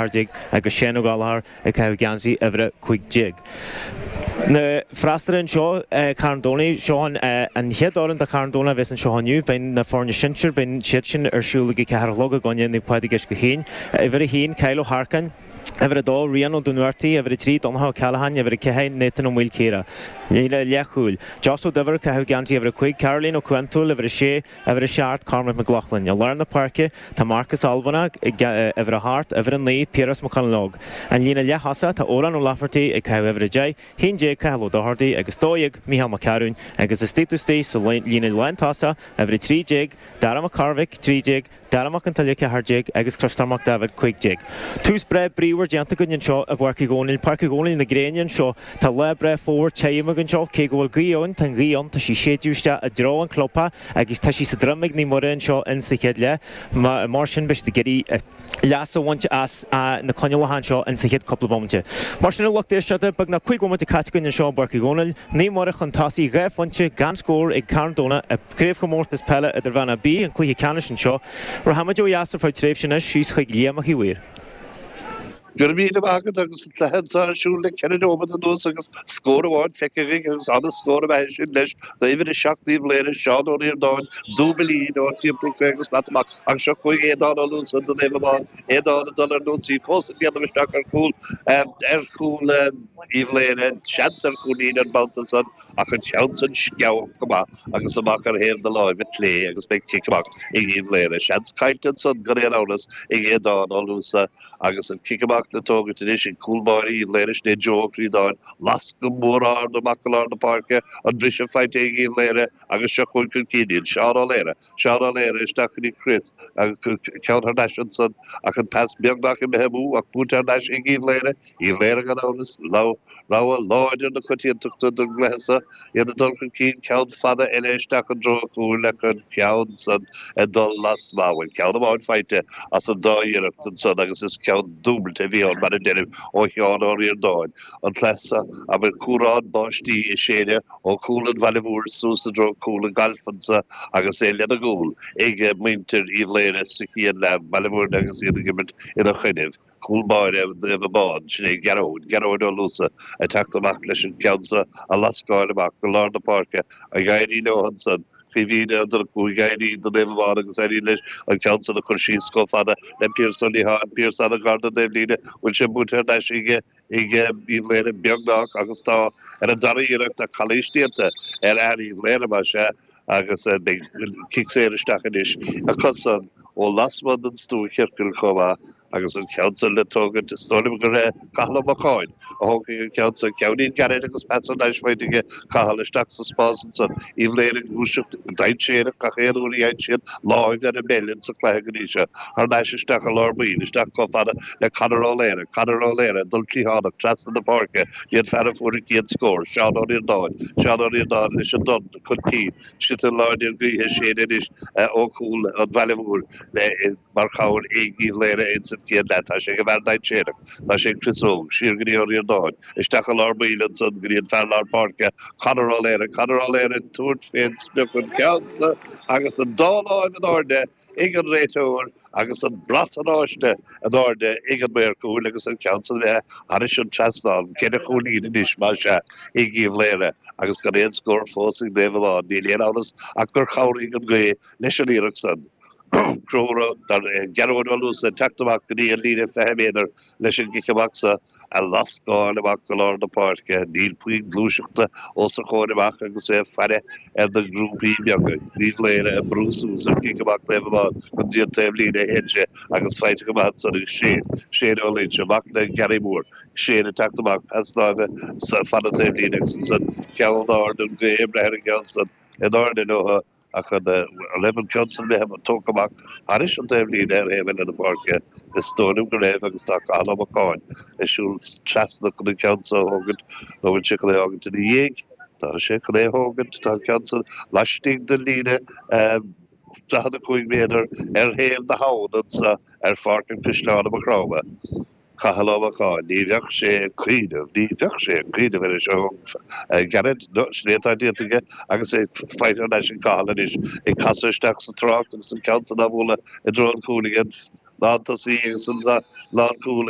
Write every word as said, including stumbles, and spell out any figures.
déag agus Shane Ó Gallchóir ag caitheamh geansaí uimhir a cúig déag. Na freastalaithe anseo, Carn Domhnach, seo an chéad fhoireann do Charn Domhnach a bheas anseo inniu. Beidh na foirne sinsir, beidh siad sin ar siúl ag a ceathair a chlog i gcoinne Naomh Pádraig Uisce Chaoin. Uimhir a haon, Kyle Ó hEarcáin, Uimhir a dó, Rian Ó Dúnmhartaigh, Uimhir a trí, Donncha Ó Ceallacháin, Uimhir a ceathair, Nathan Ó Maoilchiara. Líne leathchúil, Josh Ó Duibhir, caitheamh geansaí uimhir a cúig, Caroline Ó Cuantúil, uimhir a sé, Uimhir a seacht, Cormac McLaughlin. I lár na páirce, tá Marcus Albanach ag uimhir a hocht, uimhir a naoi, Piaras Mac Conlogue. An líne leath-thosaigh, tá Odhrán Ó Laifeartaigh ag caitheamh uimhir a deich, haon déag, Cathal Ó Dochartaigh agus dó dhéag, Mícheál Mac Cearúin, agus istigh istigh sa líne lántosach, uimhir a trí déag, Dara Mac Cormhaic, trí déag, Dara Mac an tSáile, ceathair déag, agus Criostóir Mac Daibhéid, cúig déag. Tús breá bríomhar déanta againn anseo i bPáirc Uí Dhónaill, Páirc Uí Dhónaill na gréine anseo. Tá lá breá fómhair tirim againn anseo, cé go bhfuil gaoth ann, tá an ghaoth ann, tá sí séideadh isteach i dtreo an chlubtheach agus tá sí sa droim ag Naomh Muire anseo in sa chéad leath. Mar sin beidh siad ag iarraidh leas a bhaint as na coinníollacha anseo in sa chéad cúpla bomaite. Mar sin a lucht éisteachta, beagnach cúig bhomaite caite againn anseo i bPáirc Uí Dhónaill, Naomh Muire chun tosaigh dhá phointe gan scór ag Carn Domhnach i gCraobhchomórtas Peile Idirmheánach B, an cluiche ceannais anseo. Rachaimid ó dheas ar feadh tréimhse anois, síos chuig Liam Mac Uí Mhaoir. Go raibh míle maith agat agus an cluiche anseo ar siúl le ceithre nóiméad anuas agus scór amháin feicthe againn agus an-scór ab ea é sin leis d'uimhir a seacht Uíbh Laoghaire, Seán Ó Ríordáin, dúbailín ó timpeall caoga slat amach ach seo chugainn Aodán Ó Luasa do Naomh Abán, Aodán ag dul ar an ionsaí fós ag déanamh isteach ar chúl ar chúl Uíbh Laoghaire, seans ar chúilín an babhta san ach an ceann san sceabhach go maith agus amach ar thaobh na láimhe clé agus beidh cic amach ag Uíbh Laoghaire. Seans caillte ansan gan aon amhras ag Aodán Ó Luasa agus an cic amach le tógaint anois ag cúl báire Uíbh Laoghaire, sin é Joe Ó Críodáin. Lasc go mór ard amach go lár na páirce, an briseadh faighte ag Uíbh Laoghaire agus seo chugainn chun cinn iad. Seán Ó Laoire, Seán Ó Laoire isteach go dtí Chris agus ceann thar n-ais ansan ach an pas beagnach imithe amú ach buaite thar n-ais ag Uíbh Laoghaire. Uíbh Laoghaire gan amhras, rogha láidir na coitiantachta don gcluiche seo, iad ag dul chun cinn, ceann fada eile isteach i dtreo an chúil ach an ceann san ag dul lasmuigh. Bhuel, ceann amháin faighte as an dá iarracht ansan agus is ceann dúbailte a bhí ann, mar a deirim, ó Sheán Ó Ríordáin. An cluiche seo, abair, cúrán báistí ag séideadh ó chúl an bhaile mhóir suas i dtreo cúl an gailf anso agus é lena gcúl ag muintir Uíbh Laoghaire sa chéad leath, Baile Mhúirne agus iad ag imirt ina choinnibh. Cúl báire Naomh Abán, sin é Gearóid, Gearóid Ó Luasa ag teacht amach leis an gceann so a lascáil amach go lár na páirce, ag éirí leo ansan, Caoimhín Ó Donnchú ag éirí do Naomh Abán agus éiríonn leis an ceann san a chur síos chomh fada le Pearse Ó Liatháin, Pearse an-ghar don taobhlíne, bhfuil sé buaite thar n-ais ag ag Uíbh Laoghaire beagnach agus tá ar an dara iarracht tá calaois déanta ar fhear Uíbh Laoghaire más ea agus beidh cic saor isteach anois acusan ó lasmuigh den stuachiorcal chomh maith. Agus an ceann san le tógaint, is dóigh liom gur é Cathal Ó Mocháin a thógfaidh an ceann san. Ceainnín gairid agus pas thar n-ais faighte aige Cathal isteach sa spás ansan. Uíbh Laoghaire ag gluaiseacht go dainséarach gach aon uair a fhaigheann siad láimh ar an bpeil insa chluiche go dtí seo. Thar n-ais isteach i lár baill, isteach chomh fada le Conor Ó Laoire. Conor Ó Laoire ag dul cliathánach trasna na páirce dtí an fear a fuair an chéad scór, Seán Ó Ríordáin. Seán Ó Ríordáin leis an dtorn chun cinn. Sliotar láidir gaoithe ag séideadh anois ó chúl an bhaile mhóir le mar chabhair ag Uíbh Laoghaire ins an chéad leath. Tá sé ag an bhfear dainséarach. Tá sé ag Chris Óg. Siar go dtí Ó Ríordáin. Isteach i lár baill ansan go dtí an fear lár páirce, Conor Ó Laoire. Conor Ó Laoire ag tabhairt fén sprioc an ceann so agus an dá láimh in airde ag an réiteoir agus an brat oráiste in airde ag an maor cúil agus an ceann san imithe thairis an trasnán. Ceithre chúilín anois, más ea, ag Uíbh Laoghaire agus gan aon scór fós ag Naomh Abán. Níl aon amhras ach gur chabhraigh an ghaoth leis an iarracht san. Gearóid Ó Luasa ag teacht amach go dtí an líne fiche méadar leis an gcic amach so a lascáil amach go lár na páirce. Níl puinn gluaiseachta os a chomhair amach agus é ag faire ar na grúpaí beaga. Uíbh Laoghaire ag brú suas ar chic amach Naomh Abán go dtí an taobhlíne a théann sé agus faighte go maith ansan ag Shane. Shane Ó Loinsigh amach le Gary Moore. Shane ag teacht amach, pas láimhe fan an taobhlíne agus ansan ceann ard an ghaoth ag breith ar an gceann san in airde leo. Ach an raibh an ceann san imithe tógtha amach thairis an taobhlíne ar thaobh eile na páirce? Is dóigh liom go raibh agus tá Cathal Ó Mocháin ag siúl trasna chun an ceann so a thógaint, nó bhfuil sé chun é a fhágaint ina dhiaidh? Tá sé chun é a thógaint. Tá an ceann san laistigh den líne daichead a cúig méadar ar thaobh na habhann anso ar Pháirc an Chaisleáin i Maigh Chromtha. Cathal Ó Mocháin, ní bheadh sé ag cuimhneamh, ní bheadh sé ag cuimhneamh ar é seo a ghearradh, no, sin é atá déanta aige agus é faighte thar n-ais ag Cathal anois, ag casadh isteach sa trácht agus an ceann san á bhualadh i dtreo an chúil aige, lántosaí agus an lánchúl.